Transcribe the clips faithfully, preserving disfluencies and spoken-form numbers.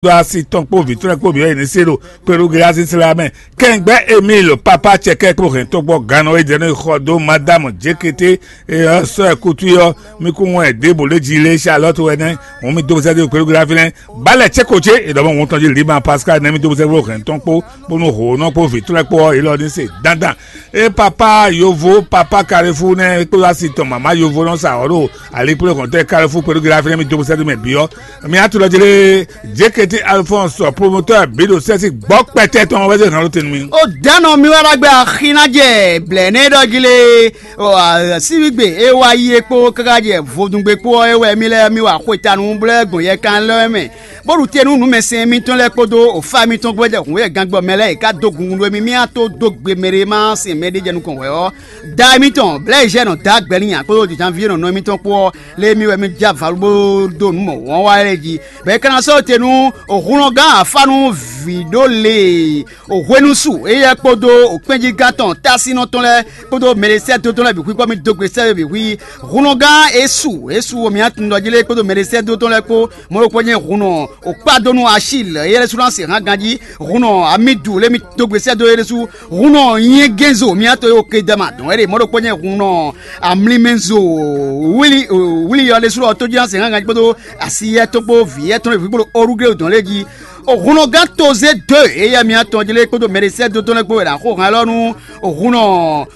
dó asi tɔn kpó vǐ tɔn lɛ́ɛ kpó bǐ ɔ́, yě ní se ɖo kpéɖógléazín sla mɛ. Kɛngbɛ́ Emil, papa cɛkɛ kpó hɛn tɔn gbɔ gannɔ e jɛ nú xɔ dó Madamu Jékété, e ɔ́ sɔ́ ɛ kútú ɔ́, mí kún wɔn ɛ ɖěbǔ lé jí lé Charlotte wɛ nɛ́. Hǔn mì dó sɛ́ dó kpéɖógléazín lɛ́ɛ. Bálɛ cé ko cé, è ɖɔ mɔ wɔn tɔn jí Lima Pascal nɛ́ mì dó sɛ́ dó hɛn tɔn kpó, bónú hǒnɔ kpó vǐ tɔn lɛ́ɛ kpó ɔ́, yě lɔ ní se dandan. E papa yovo, papa Kalefu nɛ́ kpó asi tɔn mama yovo nɔ sa ɔ́ ɖo alikpléhɔntɔ́ Kalefu kpéɖógléazín lɛ́ɛ mì dó sɛ́ dó mɛ bǐ ɔ́, mi atulɔ jele Jekete Alphonse, promoteur biɖo sɛsi gbɔ kpɛtɛ tɔn wɛ se hàn ló tenu mi. O dano mi wá ɖagbe axi ná jɛ blɛ ne ɖɔ jí lé. O, a, síbígbe e wá yi e kpó káká jɛ vodungbe kpó ɔ́, e wɛ mi lɛ́ mi wa xwetanu blɛ́ gbɔn yɛkan lɛ́ mɛ, bó ɖu te nú nǔmɛsɛn mitɔn lɛ́ɛ kpódó ofa mitɔn gbɛdɛ hǔn e gangbɔ mɛ lɛ́ɛ e ká dó gungun ɖó mi mí á tó dó gbe mɛ ɖé ma sɛn mɛ ɖé jɛ nukɔn hwɛ ɔ́. Da mitɔn Blaise nɔ da gbɛ n'i ǎ kpódó Janvier nɔ nɔ mitɔn kpó ɔ́, lé mi wɛ mi jɛ avalu bó dó nǔ mɔ̌ wɔn wá lɛ́ɛ jí. Bɔ é ka ná sɔ́ te nú òhunlɔgán afánu vǐɖó lě, òhwenusu éyɛ́ kpódó òkpɛ́njígán tɔn tásinɔ tɔn lɛ́ɛ kpódó mɛɖesɛ́dó tɔn lɛ́ɛ bǐ xwí kpɔ́ mì dó gbe sɛ́ bǐ xwí. Hunɔgán Esu Esu wo mǐ atundɔjí lɛ́ɛ kpódó mɛɖesɛ́dó tɔn lɛ́ɛ kpó, mɔ̌ ɖokpó nyí hunnɔ òkpádónú Achil éyɛ́ ɖésú ná se hán ganjí. Hunnɔ Amidu lé mì dó gbe sɛ́ dó é ɖésú. Hunnɔ nyɛgɛ́nzo mǐ atɔn e wo Kedama dɔn é ɖe, mɔ̌ ɖokpó nyí hunnɔ amlimɛzo wlí wlí ɔ́ ɖésú ɔ́ tójí ná se hán ganjí kpódó asiyɛ́ tɔn kpó vǐyɛ́ tɔn e vǐ kpó ɖo Orugléo dɔn lɛ́ɛ jí. Hunnɔgán Tozé dó éyɛ́ mǐ atɔn jí lɛ́ɛ kpódó mɛɖesɛ́dó tɔn lɛ́ɛ kpó wɛ ɖo axó hán élɔ́ nú hunnɔ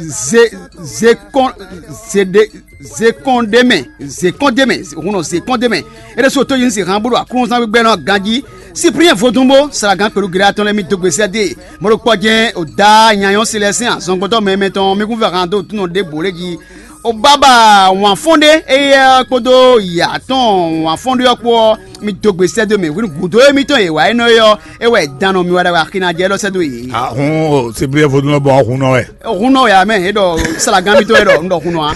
Ze Zekɔn Zeɖe Zekɔndémɛ Zekɔndémɛ hunnɔ Zekɔndémɛ. É ɖésú tójí ní se hán bó ɖo aklúnzán gbígbɛ́nɔ ganjí. Cyprien vodúnbó Salagan kpelugiré atɔn lɛ́ɛ mì dó gbe sɛ́ dó e, mɔ̌ ɖokpó jɛ́n o dá nyanyɔ́ Selɛsɛ́n azɔngbɔ́tɔ́ mɛmɛ tɔn mì kún vɛ han dó tún nɔ ɖěbǔ lé jí. O bábà wǎnfɔ́n ɖé éyɛ́ kpódó yǎ tɔn wǎnfɔ́n ɖé ɔ́ kpó ɔ́, mi dó gbe sɛ́ dó mɛ hwenu gǔdo émítɔn e wǎ énɔ́ é ɔ́, é wɛ dan nɔ mi wá ɖagbe axi ná jɛ élɔ́ sɛ́ dó yě. Ahun o siblí vodún lɔ bɔ ɔ́ hun nɔ wɛ. Hun nɔ ya mɛ é ɖɔ salagan mitɔn é ɖɔ un ɖɔ hun nɔ a.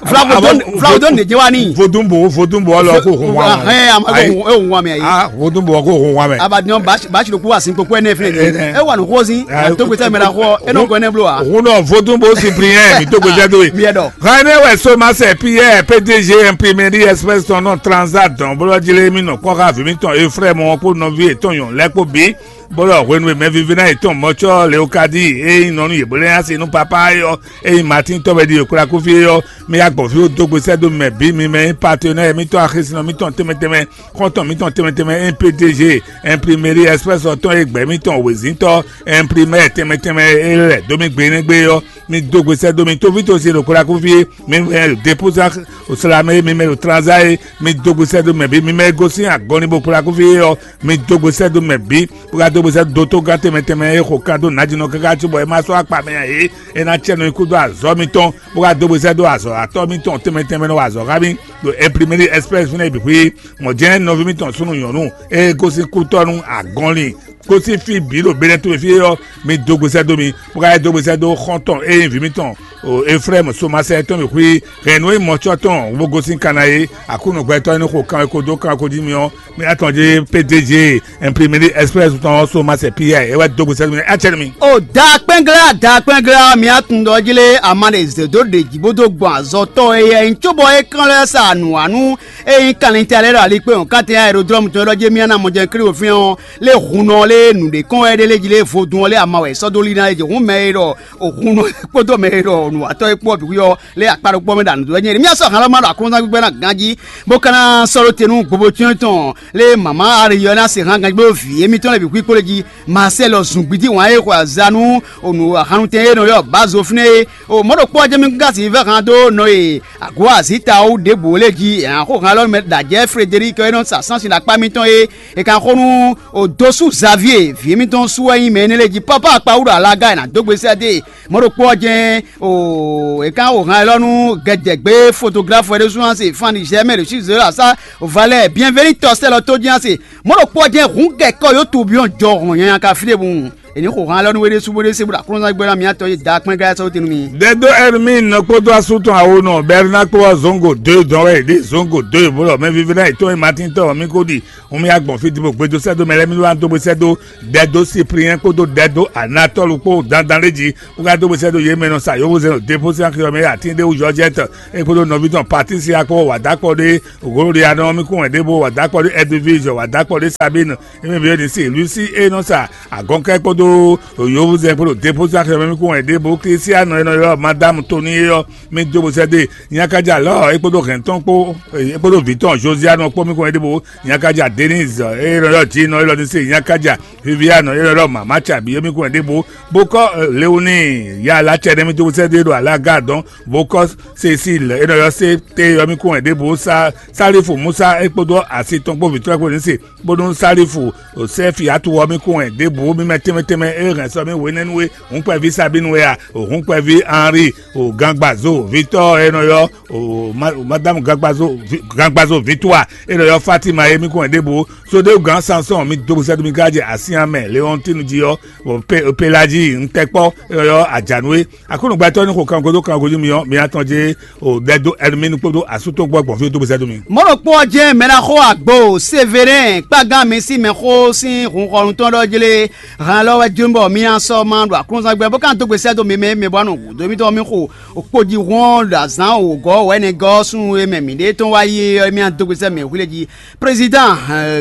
Flavodon flavodon ne jɛ wa ni. Vodún bo vodún bo ɔlɔ ko hun wa mɛ. Hɛn a ma ko hun wa mɛ ayi. Ah vodún bo ko hun wa mɛ. Abadjan basi ɖokú wa sin kpokpó ɛnɛ fɛnɛ ni. É wà ní xósin. Tó gbèsè mɛ la xɔ é nɔ gɔ ɛnɛ blo wa. Hun nɔ vodún bo siblí yẹn mi tó gbèsè dó yi. Mi yɛ dɔ. Hɛnɛ wɛ Somasɛ Piyɛ́ɛ P D G Imprimerie Express tɔn nɔ Transat dɔn bó lɔ jlé mì nɔ kpɔ́ xá vǐ mǐtɔn Efrɛ́mu ɔ́ kpó nɔví yětɔn nyɔ̌nu lɛ́ɛ kpó bǐ, bó lɔ hwenu e mɛvívínɔ yětɔn mɔ̌cɔ́ Leokádi e nyí nɔ nú yě bó lɛ́ nyi asi nú papá é ɔ́, e nyí Matín tɔ́ wɛ ɖi yě kplá kúfí é ɔ́, mì ya gbɔn fí bó dó gbe sɛ́ dó mɛ bǐ mi mɛ nyí patenɛ́ɛ mǐtɔn axisínɔ mǐtɔn tɛnmɛ tɛnmɛ, xɔ́ntɔn mǐtɔn tɛnmɛ tɛnmɛ, N P D G, Imprimerie Express ɔ́ tɔn e gbɛ̌ mǐtɔn wězíntɔ́, Imprimaire tɛnmɛ tɛnmɛ e lɛ́ dó mì gbe énɛ́ gbe ɔ́, mi dó gbe sɛ́ dó mi tóví tó se ɖo kplá kúfí é, mi mɛ ɖo dépúzá oslamɛ é, mi mɛ ɖo tranzá é, mi dó gbe sɛ́ dó mɛ bǐ, mi mɛ e gosín agɔnlin bó kplá kúfí é ɔ́, mi dó gbe sɛ́ dó mɛ bǐ, bó ka dó gbe sɛ́ dó tógán tɛnmɛ tɛnmɛ e xo kan dó nǎjínɔ káká cóbɔ é ma sɔ́ akpa mɛ ǎ é, é ná cɛ nɔ nyi kúdó azɔ̌ mitɔn, bó ka dó gbe sɛ́ dó azɔ̌watɔ́ mitɔn tɛnmɛ tɛnmɛ nɔ wa azɔ̌ xá mì ɖo Imprimerie Express fínɛ́ bǐ xwí. Mɔ̌ jɛ́n nɔví mitɔn súnnu nyɔ̌nu e gosín kútɔ́ nú agɔnlin gosín fí bǐ ɖo Benɛ́to fí é ɔ́, mi dó gbe sɛ́ dó mi, bó ka yi dó gbe sɛ́ dó xɔ́ntɔn e nyí vǐ mitɔn Eflɛ́mu Somasɛ tɔn mi xwí hɛ̌nnu e mɔ̌cɔ́ tɔn bó gosín Kana é. Aklúnɔ gbɛtɔ́ e ní xo kanwekó dó kanwekó jí mi ɔ́, mi atɔn jí P D G Imprimerie Express tɔn ɔ́ Somasɛ Piyɛ́ɛ é wɛ dó gbe sɛ́ dó mi acɛ nú mi. O da kpɛnglá da kpɛnglá mi atun dɔ jí lé ama ɖe zě dó ɖe jí bó dó gbɔn azɔtɔ́ e yɛ nyí cóbɔ é kán lɛ́ sa nǔwanú e nyí kanlin tɛ lɛ́ɛ ɖo alikpé hɔn kátɛn aerodrɔ́mu tɔn e ɖɔ jé mì ná mɔ jɛ Klíwo fínɛ́ ɔ́, lé hun ɔ lé nǔɖé kɔn wɛ ɖé lé jí lé vodún ɔ́ lé ama wɛ sɔ́ dó lí ná é jɛ hǔn mɛ e ɖɔ hun ɔ́ kpódó mɛ e ɖɔ nǔwatɔ́ e kpó ɔ́ bǐ ɔ́ lé akpa ɖokpó mɛ ɖo anǔ dó wɛ nyɛ mì sɔ́ han lɔ ma ɖo aklúnɔ́ gbígbɛ́ ná ganjí bó ka ná sɔ́ ɖó te nú gbogbo cyɔ́n tɔn lé mama Ariyɔ ná se han ganjí bó vǐ émítɔn lɛ́ɛ bǐ xwí kpó lé jí. Marcel zungbidi wǎn e xɔ aza nú onǔ hannutɛn e nɔ ylɔ́ Bazo fínɛ́ é. O mɔ̌ ɖokpó ɔ́ jɛ́n mì gún gǎn sin vɛ́ han dó nɔ e ago azǐtawu ɖěbǔ lé jí è nǎ xo han élɔ́ mɛ ɖo ajɛ̌ Frederic e nɔ sa sánsin ɖo akpá mitɔn é. È ka xo nú Odosu Xavier vǐ émítɔn sú wɛ nyí mɛ énɛ́ lɛ́ɛ jí pápá akpawú ɖo alaga è nǎ dó gbe sɛ́ dó e. Mɔ̌ ɖokpó ɔ́ jɛ́n o è ka xo han élɔ́ nú gɛdɛgbé fotografɔ é ɖésú ná se fan nigɛ́r mɛ ɖo sízɔ́ asá valɛ bienveni tɔsɛ́lɔ tó jí ná se. Mɔ̌ ɖokpó ɔ́ jɛ́n hǔn gɛkɔ yó tubyɔn jɔ hɔn nyanya ka fí ɖěbǔ. È ní xo han lɔ nú we ɖésú bó ɖé se bó ɖo aklúnɔzán gbɛ́ ná mǐ atɔn e da kpɛ́n ká sɔ́ tɛn nú mi. Dɛdó Ɛrmín kpódó asú tɔn awonɔ Bɛrná kpó ɔ́ zɔ̌n go dó e dɔn wɛ yě ɖe zɔ̌n go dó e bó ɖɔ mɛ vívɛ́ná yětɔn e Matín tɔn ɔ́ mì ko ɖi. Hun mì agbɔn fí din bó gbedo sɛ́ dó mɛ lɛ́ɛ mì wá dó bó sɛ́ dó Dɛdó Sipliyɛ́n kpódó Dɛdó Anatɔ́lu kpó dandan lé jí bó ka dó bó sɛ́ dó yě mɛ nɔ sa yǒhúnzɛn ɖo Depósi Axi ɔ́ mɛ atín ɖé wú Jɔjɛ́tɛ é kpódó nɔví tɔn Patísia kpó wǎdákpɔ ɖé Gloriano mì kún wɛ ɖěbǔ wǎdákpɔ ɖé Ɛdivizɔ wǎdákpɔ ɖé Sabínu émí bǐ ní se Lusi e nɔ sa agɔnkɛ kpódó yovuzɛn kpódó Depósi Axi ɔ́ mɛ mì kún wɛ ɖěbǔ Klísiano e nɔ ylɔ́ Madámu Toni é ɔ́ mì dó bó sɛ́ dó e nyakaja lɔ̌ é kpódó hɛ̌ntɔn kpó é kpódó vǐ tɔn Josianu kpó mì kún wɛ ɖěbǔ nyakaja Denise e nɔ ylɔ́ Jino élɔ́ ní se nyakaja Viviane e nɔ ylɔ́ Mama Cabi é mì kún wɛ ɖěbǔ bó kɔ́ Leoni ya Lacɛ nɛ́ mì dó bó sɛ́ dó e ɖo Alaga dɔn bó kɔ́ Cécile e nɔ ylɔ́ sé té ɔ́ mì kún wɛ ɖěbǔ sá Salifu Musa é kpódó asi tɔn kpó vǐ tɔn kpó ní se bónú Salifu Sɛ́fi atu ɔ́ mì kún wɛ ɖěbǔ mì mɛ tɛnmɛ tɛnmɛ é hɛn sɔ mì hwenɛ́nu e hǔnkpɛví Sabínu wɛ a, hǔnkpɛví Henri, gangbazo vítɔ́ e nɔ ylɔ́ Madame gangbazo Victoire e nɔ ylɔ́ Fatima é mì kún wɛ ɖěbǔ. Sodéwugán Sansɔ́ɔn mì dó bó sɛ́ dó mì ká jɛ asyán mɛ Leɔntínu jí ɔ́, Pelaji ntɛkpɔ́ e nɔ ylɔ́ Ajanu é. Aklúnɔgbɛtɔ́ ní xo kangodo kangodo myɔ mi atɔn jɛ o ɖɛ dó Ɛrmínu kpódó asútɔ́ gbɔ gbɔn fí dó bó sɛ́ dó mi. Mɔ̌ ɖokpó ɔ́ jɛ́n mɛ ná xo agbo Severɛn kpágán mi sín mɛxó sín hunxɔnu tɔn ɖɔ jlé han lɔ wɛ jló bɔ mi ná sɔ́ ma ɖo aklúnɔzán gbɛ bó ka dó gbe sɛ́ dó mi mɛ mɛ bɔ nɔ gǔdo mitɔn mi xo kpójihún ɔ́ ɖo azǎn wǒgɔ́ wɛ̌nɛgɔ́ súnnu e mɛ mǐɖée tɔn wá yi é ɔ́ mi ná dó gbe sɛ́ mɛ hwilé jí. Président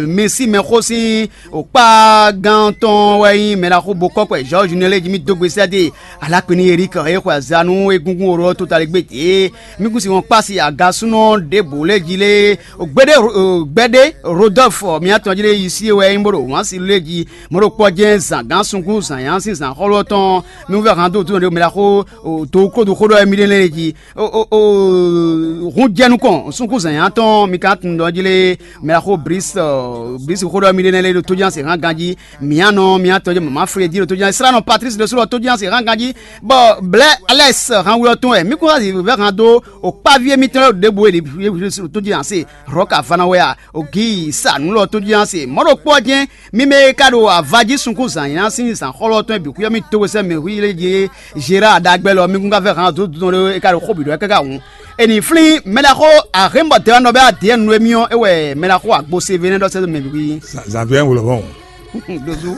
mi sín mɛxó sín kpágán tɔn wɛ nyí mɛ ná xo bo kɔ́ kpɛ Georges Nélé jí mi dó gbe sɛ́ dó Alakpini Eric e xwe azǎn nú egúngún oró ɔ́ tota lé gbé dě. Mí kún si wɔn kpá si agasúnɔ ɖěbǔ lé jí lé gbéɖé gbɛɖé Rodolphe mǐtɔn jí lé yi sí e wɛ é nyí bó ɖo wǎn si lé jí mɔ̌ ɖo kpɔ́ jɛ́n zǎngán sunkún zǎnyá sín zǎnxɔ́lú ɔ́ tɔn mí wú vɛ́ han dó dúnɔ ɖě mɛ ɖaxó dǒwúkódó xó ɖɔ wɛ mí ɖe lɛ́ɛ jí. Hun jɛ nukɔn sunkún zǎnyá tɔn mi ka tunwun ɖɔ jí lé mɛ ɖaxó Brice Brice xó ɖɔ mí ɖe lɛ́ɛ lé ɖo tójánse hán ganjí. Mǐa nɔ mǐa tɔn jɛ mama Fredi ɖo tójínɔ Israɛl nɔ Patrice ɖo sú ɖɔ tójínɔ se hán ganjí, bɔ blɛ́ Alɛs hán wlɔ́ tɔn wɛ mí kún wá vɛ́ hán dó o kpáví émítɔn lɛ́ɛ ɖěbǔ e ɖo tójínɔ se Rɔ̌ka vana wɛ a, o gǐ sa nǔ lɔ tójínɔ se mɔ̌ ɖo kpɔ́ jɛ́n mí mɛ e ka ɖo avají sunkún zǎn nyíná sín zǎn xɔ́lɔ́ tɔn e bǐ xwíyɔ́ mí dó we sɛ́ mɛ hwílé jí Zera ɖagbɛ́ lɔ mí kún ka vɛ́ hán dó dodon ɖé e ka ɖo xó bǐ ɖɔ káká hǔn. È nǐ flín mɛ ɖaxó Ahémbɔ Dɛwannɔ bɛ Adiyɛ́ɛn nú émí ɔ́, é wɛ mɛ ɖaxó Agbo Sevenɛ́ ɖɔ sɛ́ dó mɛ bǐ. Zanviɛ wlɔbɔn. Dozu.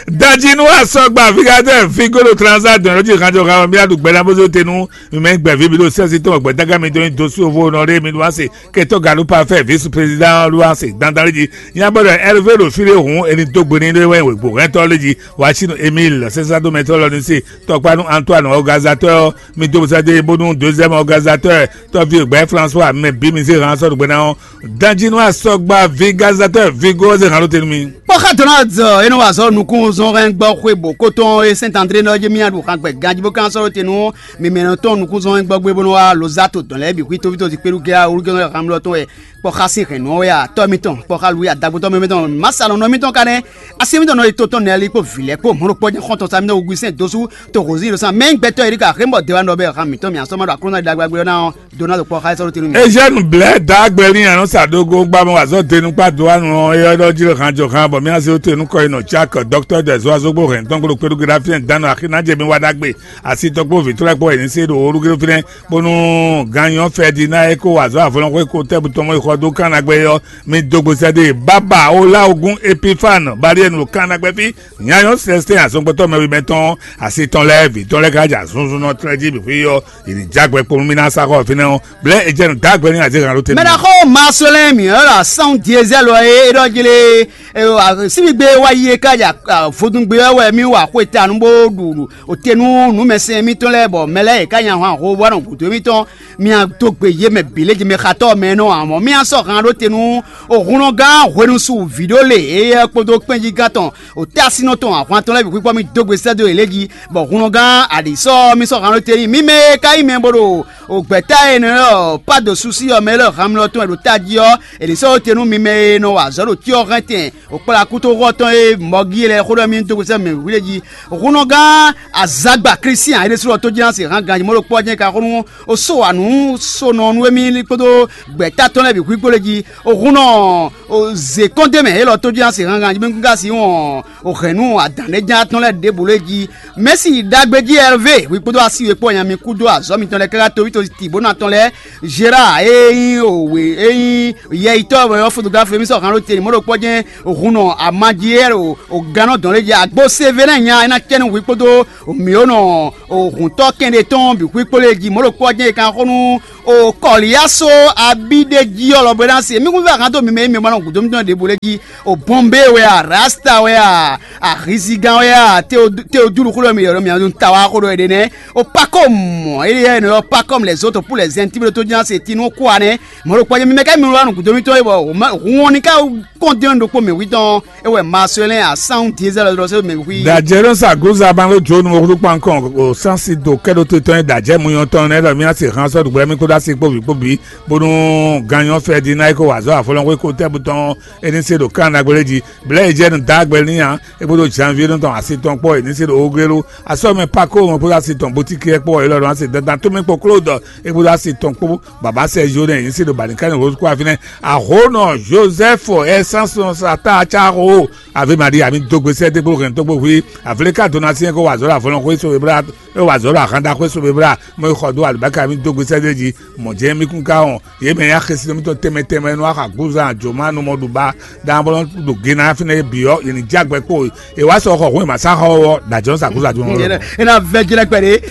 Daji nú asɔgba fíkadɛ fígolo transa dɔn lójú ìkanjọ kan bí adùgbẹ́ náà bó ṣe tẹnu mímẹ́ gbẹ̀fí bí ló sẹ́sí tó ọ̀gbẹ́ dágá mi tó ní dosú owó nọ ré mi ló wá sí kẹtọ́ gàdú pafẹ́ vice président ló wá sí dandan lé jí. Yín abọ́dọ̀ Hervé ló fi lé hùn ẹni tó gbé ní lé wẹ́ ìwé hɛntɔ lé jí wá sínú Emile sẹ́sá dó mẹ́tọ́ lọ ní sí tɔkpánu Antoine organisateur mi dó sá dé bónú deuxième organisateur tɔ́ví ògbẹ́ François mɛ bí mi sí hàn sɔ̀rọ̀ gbẹ́ná ɔ́ Danjinu asɔgba vigazateur vigo ɔ́ zé hǎn ɖó te nú mi. Kpɔ́ xá Donald e nɔ wa azɔ̌ nukúnnuzɔnhɛn gbɔ xwe bǒ kótɔn e Sɛ́nt André nɔ jɛ mía ɖu xan gbɛ ganjí bó kán sɔ́ ɖó te nú mǐmɛ́nɔ tɔn nukúnnuzɔnhɛn gbɔ gbé bó nɔ wá Lozato dɔn lɛ́ɛ bǐ xwí tófítɔ́ ti kpéɖu gɛ́ awúrúgɛ́nɔ xamlɔ tɔn wɛ kpɔ́ xá sín hɛ̌nnu ɔ́ wɛ a tɔ́ mitɔn kpɔ́ xá Luwi adagbotɔ́ mɛ mitɔn masálɔnɔ mitɔn ka nɛ́ así mitɔn nɔ yi to tɔn nɛ́ ali kpó vǐ lɛ́ɛ kpó mɔ̌ ɖo kpɔ́ jɛ́n xɔ́ntɔn sa mitɔn wegui sɛ́n dosú to hozín ɖo sán mɛ gbɛtɔ́ e ɖi ka xé mɔ dɛwá nɔ bɛ xan mǐtɔn mǐ asɔ́ ma ɖo aklúnɔ ɖagbe ɔ́ ná ɔ́. Donald kpɔ́ xá sɔ́ ɖó te nú mi. Eugène Blɛ dǎgbɛ́lín anɔ sa dó gó gbá mɔ azɔ̌ denu kpá dó anu ɔ́ é ɔ́ jí han jɔ han bɔ mía zé te nú kɔ yi nɔ Jack docteur des oiseaux gbó hɛn tɔn gbó kpéɖu gé ɖá fínɛ dánù axi ná jɛ mi wá ɖagbe asi tɔn kpó vǐtrɔ kpó ɛni sé ɖo olúgéré fínɛ bónú ganyɔ fɛ di ná é kó azɔ̌ avɔlɔn xó é kó tɛ́ bu tɔn mɔ yi xɔ dó kán nagbɛ é ɔ́ mi dó gbe sɛ́ dó e bábà ó lá ogún Epifane bariɛnu ɖo kán nagbɛ fí nyanyɔ sɛsɛ azɔngbɔtɔ mɛwi mɛtɔn asi tɔn lɛ́ɛ vǐ tɔn lɛ́ɛ ká jɛ azɔnzɔnnɔ tlɛ jí bǐ xwí ɔ́ Ìrìnjágbɛ kpowun mì ná sá xɔ fínɛ́ ɔ́, blɛ́ e jɛ nǔ dó agbɛ́ n'i azé hɛn ɖó te nú mì. Mɛɖaxó Marcelin Miɔ̌la sán Diezɛ́lu ɔ́ e é ɖɔ jlé síbígbe wá yi e ká ja vodúngbe ɔ́ wɛ mì wa xwe ta nú bó ɖu òte nú nǔmɛsɛn mitɔn lɛ́ɛ bɔ mɛ lɛ́ɛ e ká nya hwan ho bó wá nɔ gǔdo émítɔn mì dó gbe yě mɛ bǐ lě jí mɛ xatɔ́ mɛ nɔ amɔ̌ mì sɔ́ han ɖó te nú òhunnɔgán hwenusu vǐɖó lě éyɛ́ kpódó kpɛ́njígán tɔn òtɛ́ asínɔ tɔn ahwan tɔn lɛ́ɛ bǐ xwíxwɔ́ mì dó gbe sɛ́ dó yě lé jí, bɔ hun nɔ gán aɖǐ sɔ́ mì sɔ́ han nɔ te n'i. Mì mɛ e ka nyí mɛ bó ɖo gbɛ̌ta énɛ́ ɔ́, pá dǒ súsí ɔ́ mɛ lɛ́ɛ hamlɔ tɔn e ɖo tají ɔ́, è nǐ sɔ́ te nú mi mɛ e nɔ wa azɔ̌ ɖo cyɔ hɛn tɛn O kplá kútóxɔ tɔn e mɔgí lɛ́ɛ xó ɖɔ mì dó gosɛ mɛ wíɖé jí. Hunnɔgán azagba Klísián é ɖésú lɔ tó jí ná se hán ganjí mɔ ɖo kpɔ́ jɛ́n ka xó nú o só wa nǔ sónɔ nú émí kpódó gbɛ̌ta tɔn lɛ́ɛ bǐ xwígbó lé jí. O hunnɔ o zě kɔn d'é mɛ élɔ́ tó jí ná se hán ganjí mɛ gúngá sí wɔn o hɛ̌nnu adǎn ɖé ján tɔn lɛ́ɛ ɖěbǔ lé jí. Mɛ̌si ɖagbe jí Ɛrvé hwi kpódó asi we kpó nya mi kú dó azɔ̌ mitɔn lɛ́ɛ káká toví to tǐ bó ná tɔn lɛ́ɛ. Gérard e nyí òwe e nyí yɛyitɔ́ wɛ ɔ́, fotografo émí sɔ́ han ɖó te ní mɔ ɖo kpɔ́ jɛ́n. Hunnɔ amaji e o gannɔ dɔn lé jí agbo Sevelɛ́n nya é ná cɛ nú hwi kpódó mǐ ó nɔ hǔntɔ́ kɛnɖé tɔn bǐ xwí kpó lé jí mɔ ɖo kpɔ́ jɛ́n e kan xó nú o kɔlíyáso abíɖé jí ɔ́ lɔ bɔ é ná se mí kún fɛ hán dó mi mɛ e mi ma nɔ gǔdo mitɔn ɖěbǔ lé jí. O bɔnbé wɛ a, rasta wɛ a, ahizigán wɛ a, teodúlu xú ɖɔ mi yɔ̌ ɖɔ mi ɔ́ ta wá xó ɖɔ è ɖe nɛ́. O pakɔ́ mɔ éyɛ́ è nɔ ylɔ́ pakɔ́ lɛ̌ zó to pú lɛ̌ zɛ́n tíblé tó jí ná se tínú kú ǎ nɛ́. Mɔ̌ ɖokpó ɔ́, mi mɛ ká mi wá nǔ gǔdo mitɔn é bɔ hun ɔ́ ní ká kɔn dɛ́n ɖokpó mɛ hwí tɔn é wɛ Marcelin a sán díezɛ́ lɔ dɔ sɛ́ mɛ hwí. Dajɛ ɖo sa guza ban ɖo jo nu wo kpán kɔn o sansi do kɛ ɖo to tɔn da jɛ mu yɔn tɔn ne ɖɔ mi asi han sɔ ɖugbɛ mi kpo da si kpo vi kpo bi bonu ganyɔ fɛ di na iko wazɔ afɔlɔn ko iko tɛ bu tɔn eni se ɖo kan na gbele ji blɛ yi jɛ nu da gbɛ ni ya e kpo do janvier nu tɔn asi tɔn kpɔ eni se ɖo ogelo asɔ mɛ pako mɛ kpo da si tɔn botiki kpɔ yi lɔ ɖo asi dandan to mi kpo klo dɔ e kpo da si tɔn kpo baba sɛ jo ne eni se ɖo bani kan rose kó afi nɛ. Ahonɔ Joseph Essence Sata Caho Ave Maria mi dó gbe sɛ́ dé kpó hɛn tó kpó hwi. Avlé ka dó ná syɛ́n kó wà zɔ̌ ɖo avɔlɔn xwé so bébla é wà zɔ̌ ɖo ahanda xwé so bébla mɔ é xɔ dó alibáka mi dó gbe sɛ́ dé jí. Mɔ̌ jɛ́n mí kún ka wɔn yě mɛ ya xɛsi nɔ mítɔn tɛnmɛ tɛnmɛ nɔ axa gúzan jǒma nɔ mɔ ɖu ba dan bɔ ɖo gena fínɛ́ bǐ ɔ́ yě ní jɛ agbɛ kpó. È wá sɔ xɔ hǔn è ma sá xɔ ɔ́ dǎjọ́ sa gúzan jǒma lɔ. É ná vɛ́ jlɛ́ kpɛɖé.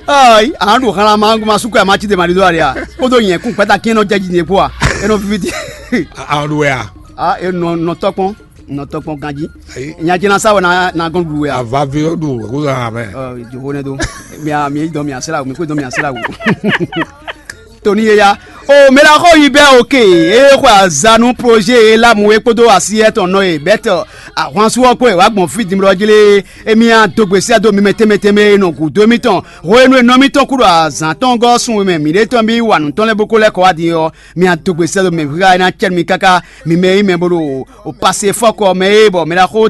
Ayi, a nɔ ɖo xlán ma ma sú kɔ ma cí de ma ɖi dó ali a? Kpódó nyɛ kún gbɛ́ta kí nɔ jɛ jí nyɛ kpó a? É nɔ vivi di. A nɔ ɖu wɛ a? A e nɔ nɔ tɔkpɔn nɔ tɔkpɔn ganji. Ayi. Nya jɛ na sa wɛ na na gɔn ɖu wɛ a? Ava vi ɔ ɖu wɛ kó zan amɛ. Ɔ, jovo ne do. Mi a mi dɔn mi a sela mi kó dɔn mi a sela wo. Toni ye ya. O mɛ la xɔ yi bɛ oke. E xɔ azanu projet e lamu e kpódó asi etɔn nɔ e bɛtɛ ahwansu ɔ kpó e wá gbɔn fí dimlɔ jí lé. Emi a dogbe sɛ do mi mɛ tɛnmɛ tɛnmɛ e nɔ gǔdo émítɔn. Hwenu e nɔ mítɔn kú ɖo azǎn tɔn gɔ́ sun mɛ mǐɖée tɔn bí wa nǔ tɔn lɛ́ɛ bó ko lɛ́ kɔ wá din ɔ́, mi a dogbe sɛ do mɛ hwíhá e ná cɛ nú mi káká mi mɛ e nyí mɛ bó ɖo o pase fɔ́kɔ mɛ e bɔ mɛ ɖaxó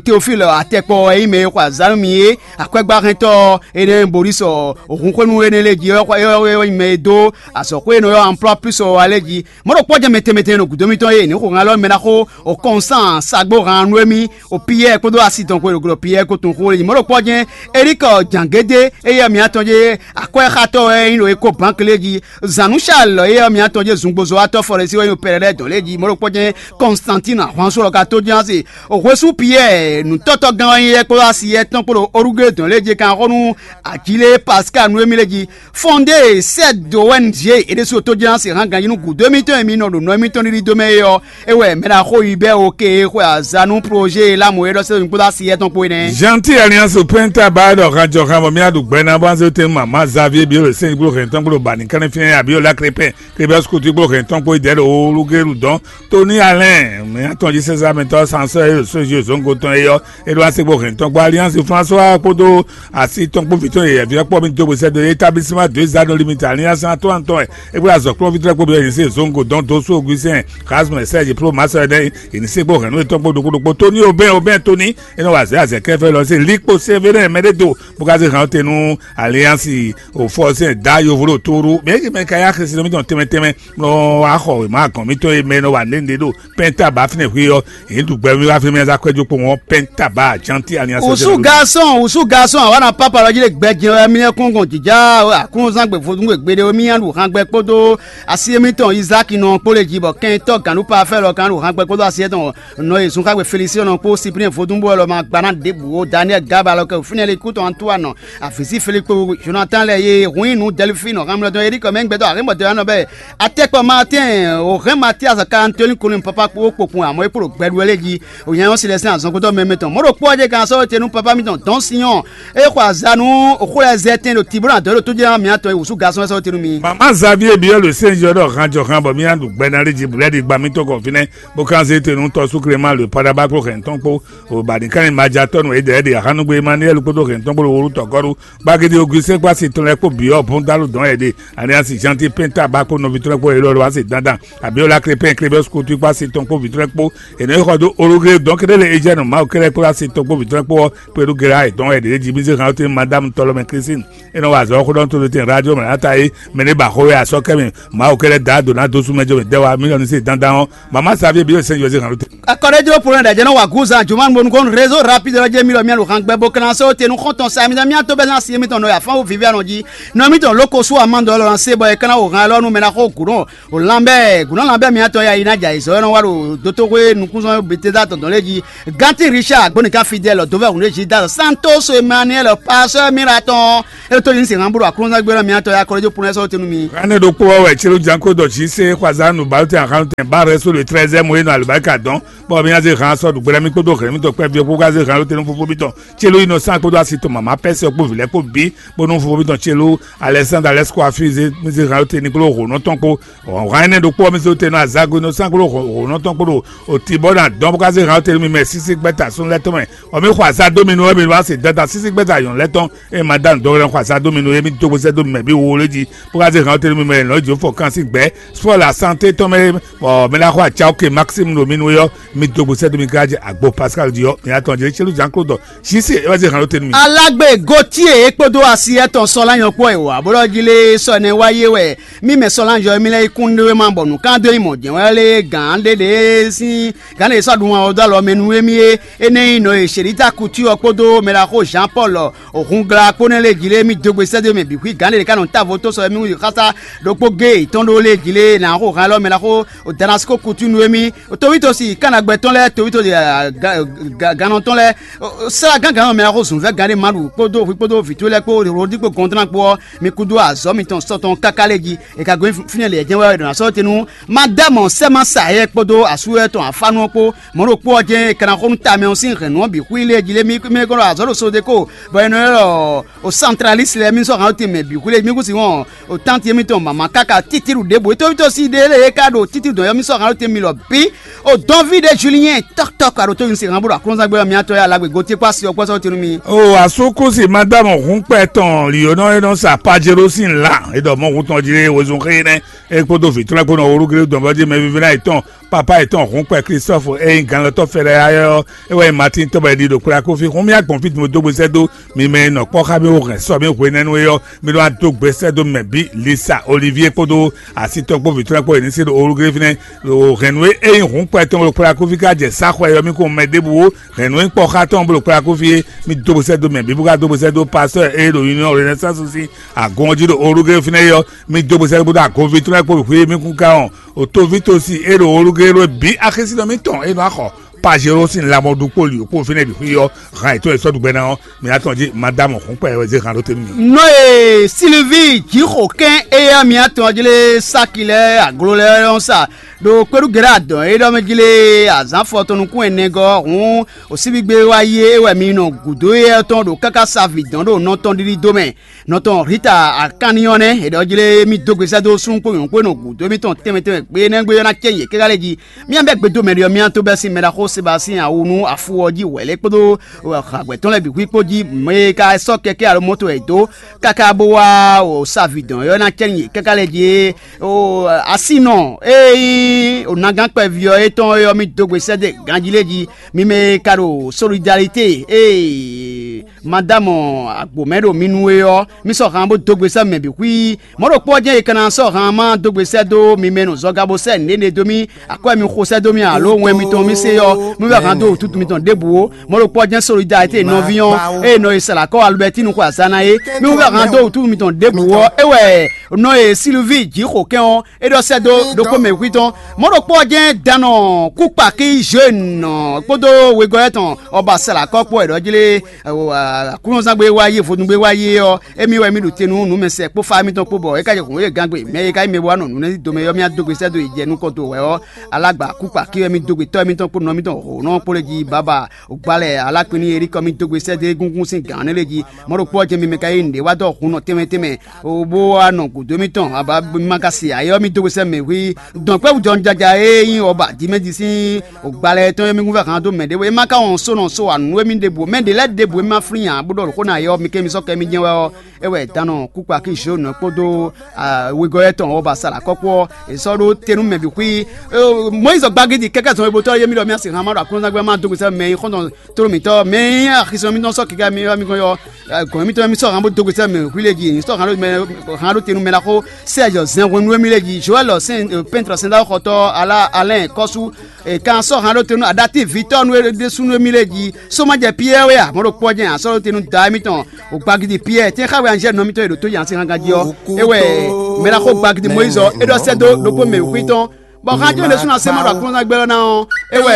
Teofílɔ atɛkpɔ wɛ nyí mɛ e xɔ azǎn nú mi é. Akwɛ́gbáhɛntɔ́ énɛ́ Borísɔ òhunxwénu énɛ́ lɛ́ɛ jí é wɛ nyí mɛ e dó azɔ̌xwé e nɔ ylɔ́ Amplɔ́ Plusɔ wá lɛ́ɛ jí. Mɔ̌ ɖokpɔ́ jɛ́n mɛ tɛnmɛ tɛnmɛ ɖo gǔdo mitɔn e ní xo hɛn alɔ mɛ ná xó o kɔn sán sagbó han nú émí o Piyɛ́ɛ kpódó asi tɔn xwe ɖo Piyɛ́ɛ ko tunwun xó lɛ́ɛ jí. Mɔ̌ ɖokpɔ́ jɛ́n Erikɔ Jangédé e yɛ mǐtɔn jí akwɛ́xatɔ́ wɛ é nyí ɖo Eko Bánk lɛ́ɛ jí. Zǎnúshalɔ e yɛ mǐtɔn jí zungbozɔ́watɔ́ Fɔlɛsí wɛ nyí ɖo Pɛlɛlɛ́ dɔn lɛ́ɛ jí. Mɔ̌ ɖokpɔ́ jɛ́n Kɔnstantín ahwansu ɔ́ ka tó jɛ́n asi. Hwesú Piyɛ́ɛ nǔtɔ́tɔ́gán ɔ́ nyí yɛ́ kpódó asi yɛ́tɔn kpó ɖo Orugée dɔn lé jí kan xó nú Ajílée Pasika nú émí lé jí. Fɔndée sɛ́ dǒ wɛ nǔ jí é ɖésú tó jɛ́n asi hán ganjí nú gǔdo émítɔn e mi nɔ ɖo nɔ émítɔn ɖiɖi dó mɛ é ɔ́, é wɛ mɛ ɖo axó yi bɛ́ o ke e xwe azǎn nú projet e Lamu e ɖɔ sɛ́ mi kpódó asi yɛ́tɔn kpó é nɛ́. Gentil Alliance Penta ba ɖɔ hajɔhan bɔ mía ɖu gbɛ ná bɔ anzɛ tɛn mama Xavier biyo le sɛn gblo hɛn tɔn gblo ba ni kɛnɛ fiɛ ya biyo la krepɛ. Kebɛs kutu kpó hɛn tɔn kpó idɛ ɖo olugelu dɔn Tony Allen mɛ atɔn jí sɛsɛ amɛtɔ sansɔ e so zi zongo tɔn e yɔ e ɖo ase kpó hɛn tɔn kpó Alliance François kpódó asi tɔn kpó vitɔn yɛyɛ vi kpɔ mi do bosɛ do établissement deux anneaux limite Alliance atɔn atɔn e kpó azɔ kplɔn vitɔn kpó bi yɛn se zongo dɔn do so Augustin Rasmus Serge pro masɔ ɛdɛ yɛn se kpó hɛn no etɔn kpó ɖokpó ɖokpó Tony Aubin Aubin Tony e nɔ wa azɛ azɛ kɛfɛ lɔ se likpo Sévérin mɛ ɖé do bó ka se hɛn te nú Alliance o fɔ sɛn da yovo ɖo tóru mɛ eke mɛ ka ya xɛsi nɔ mitɔn tɛmɛ tɛmɛ nɔ wa xɔ wěma agɔn mitɔn e mɛ nɔ wa nɖe nɖe ɖo pɛnta ba fínɛ hwe ɔ èyí ɖu gbɛ mi wá fi mɛ za kɔɛ jó kpo wọn pɛnta ba janti Alliance. Usu garçon usu garçon awa na papa lɔ jí le gbɛ jɛ wɛ mi kún gɔn jija akunzan gbe vodun gbe gbeɖe mi ya ɖu han gbɛ kpódó asi mitɔn Isaac nɔ kpó le jí bɔ kɛntɔ ganu pa fɛ lɔ kan ɖu han gbɛ kpódó asi etɔn nɔ yi zunxagbe Félicien nɔ kpó Cyprien vodun bɔ lɔ ma gba na ɖěbǔ o Daniel Gaba lɔ kɛ fínɛ le kútɔ Antoine Avisi Filipo Jonathan lɛ ye hun nu Delphine Hamilton Eric mɛ gbɛtɔ Arimɔtɔ anɔ bɛ atɛkpɔ Martin o hɛn Mathias ka Anthony Colin papa kpo kpokpun amɔ e kpo gbɛɖu lɛ ji o nyanyɔ si lɛ sɛn azɔnkotɔ mɛmɛ tɔn mɔɖo kpɔ je kan sɔ te nu papa mi tɔn dɔn sinyɔn e xɔ azanu o xo lɛ zɛ tɛn ɖo tibuna dɔ ɖo tojɛ miatɔ e wusu gasɔn sɔ te nu mi. Mama Xavier Yé byɔ́ ɖo sɛ́nzɔ́ ɖɔ han jɔ han bɔ mì ná ɖu gbɛ ná ɖé jí blɛ́ɖi gba mì tɔn kɔn fínɛ́, bó kan zé te nú tɔ́sú Klema le Padaba kpó hɛn tɔn kpó, o ba ní kan ní ma ja tɔ́ nú Edɛɛɖi Ahánugbé Emmanuel kpódó hɛn tɔn kpó ɖo wólu tɔgɔ́ɖu, Gbagédé Augustin kpó asi tɔn lɛ́ɛ kpó byɔ́ bɔn dáló dɔn ɛɖe, Alliance Gentil Penta ba kpó nɔví tɔn lɛ́ɛ kpó Elɔlɔ asi dandan, abiola Crépin Clébius kutu kpó asi tɔn kpó vǐ tɔn lɛ́ɛ kpó, è nɔ yi xɔ dó olugé dɔn kéɖé lé Ejɛnu Mawu kɛ́ɖɛ́ kpó asi tɔn kpó vǐ tɔn lɛ́ɛ kpó ɔ́, kpé ɖó Gera ayǐ tɔn ɛɖe ɖé jí mì zé hɛn ɔ́ tɛ́ Madame Tɔlɔmɛ Christine. É nɔ wa azɔ̌ xó ɖɔ tó ɖo tɛn radio mɛ ata é, mɛ ɖé ba xó wɛ asɔ́ kɛ mɛ, Mawu kɛ lɛ́ da dǒ ná dó sú mɛ jó mɛ dɛ́ wá mílíɔ́nù sí dandan ɔ́, mama Xavier Biyɔ́ sɛn José hàn ló tɛn. Akɔɖéjló Polonɛ ɖajɛ nɔ wa gúzan juma bonu kɔn réseau rapide lɔ jɛ mi lɔ mi alo hàn gbɛ bo kana só te nu xɔntɔn sa mi mi to bɛ na si mi tɔn nɔ ya fan wo vivi anɔ ji nɔ mi tɔn loko su amandɔ lɔ na se bɔ e kana wo hàn lɔ nu mɛ na xo gǔnɔ o lanbɛ gǔnɔ lanbɛ mi atɔ ya yi na ja izɔ nɔ wa ɖo dotoxwe nukúnzɔn Betesda tɔn dɔn lé ji. Ganti Richard gbɔnika Fidèle dovɛ hun ɖe ji da Santos Emmanuel pasteur Miratɔn. E to yin se hàn bolo aklɔnzagbe lɔ miatɔ ya kɔlɔjɔ pun ɛsɛ o tenu mi. Ane ɖokpó ɔ́ wɛ Celu Janko dɔ jí se xwaza nu balu tɛn ahan tɛn ba rɛ so le treize mo e nɔ alubarika dɔn. Bɔ mi aze hàn sɔ ɖugbɛlɛ mi kpódó hɛn mi tɔ kpɛ vi kpó gaze hàn lóte nú fúnfún mi tɔn. Celu yi nɔ sán kpódó asi tɔn mama pɛsɛ kpó vilɛ kpó bi bónú fúnfún mi tɔn Celu Alexandre Alexco afi ze mi ze hàn lóte ní kpló hǒnɔ tɔn kpó. Hɔn énɛ́ ɖokpó ɔ́ mi se wú te nɔ azago nɔ sán kpló hǒnɔ tɔn kpó ɖo oti bɔ na dɔn bó ká zé hǎn tɛnumɛ mɛ sísí gbɛ́ta súnnu lɛ́ɛ tɔn mɛ. Ɔ mi xɔ azá dó mi nú ɔ́ mi wá se dada sísí gbɛ́ta nyɔ̌nu lɛ́ɛ tɔn. Ée ma dá nǔ dɔn xɔ azá dó mi nú é mi dó gbèsè dó mi mɛ bí wo lé jí bó ká zé hǎn tɛnumɛ mɛ lɔ̌ jǒ fɔ kan sín gbɛ̌ spɔ́ la santé tɔn mɛ. Bɔ mi ná xɔ acá oke Maxime ɖo mi nú é ɔ́, mi dó gbèsè dó mi ká jɛ agbo Pascal jí ɔ́ mi atɔn jɛ célu Jean Claude. Sísí é wá zé hǎn tɛnumɛ. Alágbe Gautier é kpódó asi ɛtɔn sɔ́ lá nyɔ̌kpɔ́ è wǎ bó ɖɔ jí lé sɔ ɛnɛ wá yé wɛ. Mí mɛ sɔ́ ná yɔ émí lɛ́ɛ yi kún ɖé ma bɔ nǔkán dó yi mɔ jɛ̌nwɛ́ lé gǎn ɖé ɖě sín gǎn ɖě sɔ́ ɖun ɔ́ dó alɔ mɛ nú émí é. Énɛ́ nyí nɔ e Shelita Kutu ɔ́ kpódó mɛɖaxó Jean Paul Hungla kpó nɛ́ lé jí lé mì dó gbe sɛ́ dó mɛ bǐ xwí gǎn ɖě ɖě ká nɔ távo tó sɔ émí xása ɖokpó gé yětɔn ɖó lé jí lé nǎ xo hán élɔ́ mɛɖaxó Damasko Kutu nú émí. Tovítɔ́ si kánagbɛ tɔn lɛ́ɛ tovítɔ́ gannɔ tɔn lɛ́ɛ sɛ́lá gángan mɛɖaxó zǔnvɛ́ gǎn ɖé ma ɖu kpódó hwi kpódó vǐ towe lɛ́ɛ kpó Rodrigo Gɔndran kpó ɔ́, mi kúdó azɔ̌ mitɔn sɔ tɔn káká lé jí. È ka gɔ́ fínɛ́ lě jɛ́n wɛ è nɔ ná sɔ́ te nú Madame Sɛ́ma Sayɛ kpódó asú lɛ́ɛ tɔn afánú ɔ́ kpó. Mɔ̌ ɖokpó ɔ́ jɛ́n è ka ná xo nú tamɛ ɔ́ sín hɛ̌nnu ɔ́ bǐ xwí lé jí lé mí mí kɔn ɖo azɔ̌ ɖo Sodeko, bɔ è nɔ ylɔ́ o Santralísi lɛ́ɛ mí sɔ́ hǎn tɛnmɛ bǐ xwí lé mí kún sin wɔn o tánti émítɔn mama káká títíɖu ɖěbǔ. Tóvítɔ́ sí ɖé lée é ka ɖo títíɖu dɔn ɔ́ mí sɔ́ hǎn tɛnmɛ lɔ bǐ. O dɔnví ɖé Julien tɔkutɔku aɖo tó nyí se hǎn bó ɖo aklúnzán gbé ɔ́ mí atɔ́ yá lágbe gotí kpó asi ɔ́ kpɔ́ sɔ́ tɛnú mí. O asúkúsi Madame Hunkpɛ tɔn liyonɔ e nɔ sa Pajero sín la e ɖɔ mɔ hun tɔn jí wezun xé nɛ́. É kpódó vǐ tɔn lɛ́ɛ kpó nɔ wlú Gléwu dɔn bɔ jí mɛvívínɔ yětɔn papa yětɔn Hunkpɛ Klistɔ́fu e nyí ganlɔ́tɔ́ Fɛlɛyáyɔ́ é wɛ nyí Matín tɔn bɔ è ɖi ɖo Kwlakuví. Hǔn mì agbɔ̌n fí din bó dó gbe sɛ́ dó mi mɛ e nɔ kpɔ́ xá mì wú hɛn sɔ mì hwenɛ́nu é ɔ́, mi nɔ wá dó gbe sɛ́ dó mɛ bǐ Lisa Olivier kpódó asi tɔn kpó vǐ tɔn lɛ́ɛ kpó yě ní se ɖo Olugléví nɛ́. Ɖo hɛ̌nnu e é nyí Hǔnkpɛ tɔn bó ɖo Kwlakuví ka jɛ sá xwɛ ɔ́, mì kún mɛ ɖěbǔ ó. Hɛ̌nnu e nyí kpɔ́ xá tɔn bó ɖo Kwlakuví é, mì dó gbe sɛ́ dó mɛ bǐ bó ka dó gbe sɛ́ dó pastɔ́ e ɖo Union Renaissance sín agun ɔ́ jí ɖo Olugléví nɛ́ é ɔ́, mì dó gbe sɛ́ dó agunví tɔn lɛ́ɛ kpó wěxwé mì kún ka wɔn. O tovítɔ́ si é ɖo olúgéló bǐ axésínɔ mítɔn e nɔ axɔ Pajero sín lamɔɖu kpó lǐ kpó fínɛ́ bǐ xwí ɔ́, han yětɔn e sɔ́ ɖu gbɛ ná ɔ́, mi atɔn jí Madamu Hǔnkpɛ wɛ zé han ɖó te nú mi. Nɔ e Silvi jǐxo kɛn éyɛ́ mi atɔn jí lé sáki lɛ́ɛ aglo lɛ́ɛ nɔ sa ɖo kpéɖugɛ̌ adɔn e ɖɔ mɛ jí lé azǎn fɔtɔn nukún ɛnɛgɔ́ hǔn o síbígbe wá yi é wɛ mi nɔ gǔdo éyɛ́ tɔn ɖo káká sa vǐ dɔn ɖo nɔ tɔn ɖiɖi dó mɛ. Nɔ tɔn Rita akanni ɔ́ nɛ́, è ɖɔ jlé mì dó gbe sɛ́ dó súnnu kpó nyɔ̌nu kpó e nɔ gǔdo émítɔn tɛnmɛ tɛnmɛ gbe énɛ́ gbe ɔ́ ná cɛ nyɛ kɛ́ ká lɛ́ɛ jí. Mì bɛ́ gbe dó mɛ ɖé ɔ́, mì tó bɛ́ sín mɛ ɖaxó Sebasín awu nú afu ɔ́ jí wɛ̌lɛ́ kpódó hǎgbɛ́ tɔn lɛ́ɛ bǐ xwí kpó jí. Mɛ e ka sɔ́ kɛkɛ́ alo mɔto wɛ è dó káká bó wá o savi dɔn ɔ́ ná cɛ nyɛ kɛ́ ká lɛ́ɛ jí. O asinɔ e nyí o nagán kpɛví ɔ́ étɔn é ɔ́, mì dó gbe sɛ́ dó ganjí lé jí. Mi mɛ e ka ɖo solidarité ee Madamu agbǒmɛ ɖo mi nu é ɔ́, mi sɔ́ han bó dó gbe sɛ́ mɛ bǐ xwí. Mɔ̌ ɖokpó ɔ́ jɛ́n è ka ná sɔ́ han ma dó gbe sɛ́ dó mi mɛ nɔ zɔga bó sɛ́ nǔɖé ɖe dó mì, akwɛ́ mi xo sɛ́ dó mì alo wɛn mitɔn mi se ɔ́, mi wɛ han dó wǔtútú mitɔn ɖěbǔ ó. Mɔ̌ ɖokpó ɔ́ jɛ́n solidarité nɔví ɔ́, ée nɔ e Salakɔ́ Alubɛtínu xwe azǎn ná é, mi wɛ han dó wǔtútú mitɔn ɖěbǔ ɔ́, é wɛ nɔ e Silvíi jǐ xo kɛ́n ɔ́, é ɖɔ sɛ́ dó ɖokpó mɛ xwí tɔn. Mɔ̌ ɖokpó ɔ́ jɛ́n danɔ kúkpakí Jeune kpódó wegɔ́ tɔn ɔ́ ba Salakɔ́ kpó wɛ ɖɔ jlé Aklúnɔzán gbe wá yé, vodún gbe wá yé ɔ́, émí wɛ mì ɖo te nú nǔmɛsɛn kpó fá émítɔn kpó bɔ é ka jɛ hǔn e gán gbe mɛ e ka nyí mɛ bó wá nɔ nǔ nɛ́ dó mɛ ɔ́, mì adó gbe sɛ́ dó yi jɛ nukɔn dó wɛ ɔ́, alágbǎ kúkpa kí wɛ mì dó gbe tɔ́ émítɔn kpó nɔ émítɔn hǒnɔ kpó lé jí bábà. Gbá lɛ́ɛ alákpín n'i Elíkɔ mì dó gbe sɛ́ dó égúngún sín gǎn nɛ́ lé jí. Mɔ̌ ɖokpó ɔ́ jɛ mi mɛ ka yí nǔɖé wá dó hǔn nɔ tɛnmɛ tɛnmɛ, bó wá nɔ gǔdo émítɔn, abǎ ma ka se ayé ɔ́, mì dó gbe sɛ́ mɛ hwí dɔn kpɛ́ wú jɔnjaja e nyí ɔ́ ba dímɛ́jí sín gbalɛ tɔn e mì kún fɛ hǎn dó mɛ ɖěvo. É má ka wɔn só nɔ só wa nǔ émí ɖěbǔ, mɛ ɖě lɛ́ɛ ɖěbǔ e má flín ǎ, bó ɖɔ xó ná yɛ ɔ́, mi kɛ mi sɔ́ kɛ mi jɛ́n wɛ ɔ́, é wɛ danɔ kúkpakí Zhonɔ kpódó wegɔ́ tɔn ɔ́ ba sa ɖo akɔ́kú ɔ́, è sɔ́ ɖó te nú mɛ bǐ xwí. Mɔyízi gbagidi kɛkɛ zɔn e botɔ yé mi ɖɔ mi asi hàn má ɖo aklúnɔzán gbé má dó gbèsè mɛ yi xɔ́ntɔn tló mǐtɔn mɛ yi axisɔn mítɔn sɔ́ kɛkɛ mi wá mi gɔn yɔ gɔn mítɔn mi sɔ́ hàn bó dó gbèsè mɛ xwí lé jí, sɔ́ hàn ɖó mɛ hàn ɖó te nú mɛ ɖaxó Sɛ́ɛzɔ zɛnhwenu émí lé jí, Joɛl pɛ́ntrɔ sɛndáwó xɔtɔ́, Alá Alɛ́n kɔ́sú, è kan sɔ́ hǎn ɖó te nú aɖatívi tɔ́ nú é ɖésúnú émí lɛ́ɛ jí. Só má jɛ Piyɛ́ɛ wɛ a? Mɔ̌ ɖokpó ɔ́ jɛ́n a sɔ́ ɖó te nú da émítɔn, o gbagidi Piyɛ́ɛ, tɛ́nxáwɛ anjɛ́ nɔ mitɔn e ɖo tó nya sín hángan jí ɔ́. É wɛ mɛ ɖaxó gbagidi Mɔyízi ɔ́, é ɖɔ sɛ́ dó ɖokpó mɛ wěxwí tɔn, bɔ hán jɛ́n ɖésúnɔ asé má ɖo aklúnɔzán gbɛ́ ɔ́ ná ɔ́. É wɛ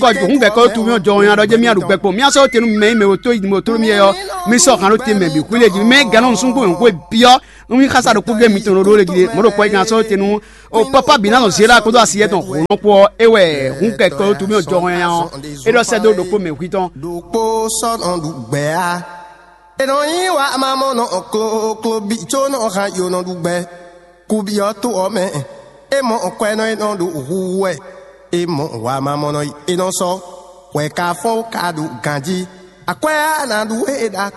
kɔ hǔn gɛ̌ kɔ tu mì jɔ nya ɖɔ jɛ́n mì aɖu gbɛ kpɔn mì asɔ́ ɖó te nú mɛ e mɛ wǒ tó yi mɛ wǒ tló mì é ɔ́. Mì sɔ́ hǎn ɖó te mɛ bǐ xwí lé jí, mɛ gǎn nɔ nusúngbó wěxwé byɔ́. Un yí xásá ɖokpó gé mitɔn ɖo ɖó lé jí ɖé, mɔ̌ ɖokpó ɔ́ yi kan sɔ́ te nú o pápá bǐ ná nɔ zé ɖó akpódó asi yɛ́tɔn hǒnɔkpó ɔ́, é wɛ hǔn kɛkɔ ɔ́ tu mì jɔ hɔn nya ɔ́, é ɖɔ sɛ́ dó ɖokpó mɛ hwí tɔn. Ɖokpó sɔ́ nɔ ɖu gbɛ á. È nɔ yí wa ma mɔ nɔ kloklo bí có nɔ hán yo nɔ ɖu gbɛ. Kubyɔ́ to ɔ́ mɛ, é mɔ kwɛ́nɔ e nɔ ɖo hu wɛ. É mɔ wa ma mɔ nɔ yi é nɔ sɔ́. Hwɛ ka fɔ́n ka ɖo ganjí. Akwɛ́ á ná ɖu é ɖa